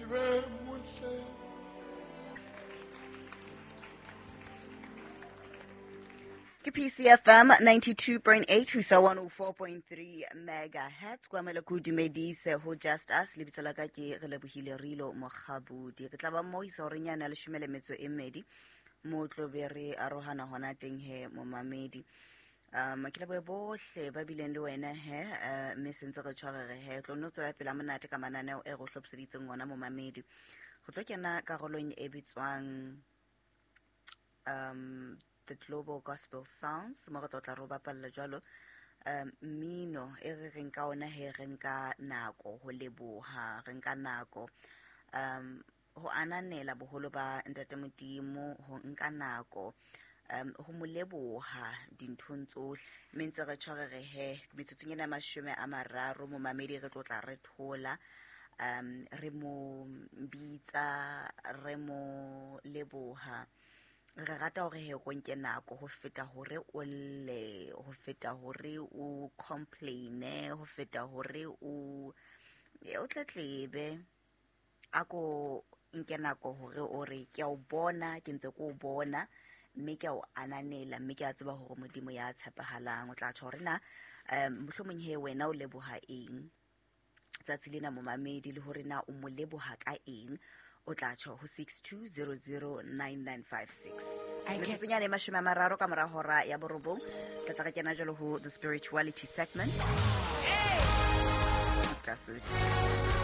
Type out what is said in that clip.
Ngibe muhle. Ke PCFM 92.8 ho isa 104.3 megahertz. Kwa mele ko dumedise ho Just Us. Lebitso la ka ke re lebohile Rilo Mokgabudi. Re tla ba mo isa horeng yane ya leshome le metso e mmedi, mo tlo be re arohana hona teng he momamedi. Ke lebohe bohle ba bileng le wena he, mme sentse re tshwarere he tlo nno tswela pele monate ka mananeo e re o hlophiseditseng ona momamedi. Re tlo kena karolong e bitswang The Global Gospel Sounds, mo re tlo tla re o bapalla jwalo mmino e re reng ka ona he, re nka nako ho leboha, re nka nako ho ananela boholo ba Ntate Modimo, ho nka nako ho mo leboha dinthong tsohle. Mme ntse re tshwarere he metsotsong ena ya 30 momamedi, re tlo tla re thola, re mo bitsa, re mo leboha. Re rata hore he o nke nako ho feta hore o lle, ho feta hore o complaine, ho feta hore o tletlebe. A ko nke nako hore o re ke a o bona, ke ntse ke o bona, mme ke a o ananela, mme ke a tseba hore Modimo ya tshepahalang. O tla tjho hore na mohlomong he wena o leboha eng tsatsi lena momamedi, le hore na o mo leboha ka eng. O tla tjho ho 62009956. Metsotsong yane e 30 ka mora hora ya borobong, tla tla re kena jwalo ho the spirituality segment. Ska suit.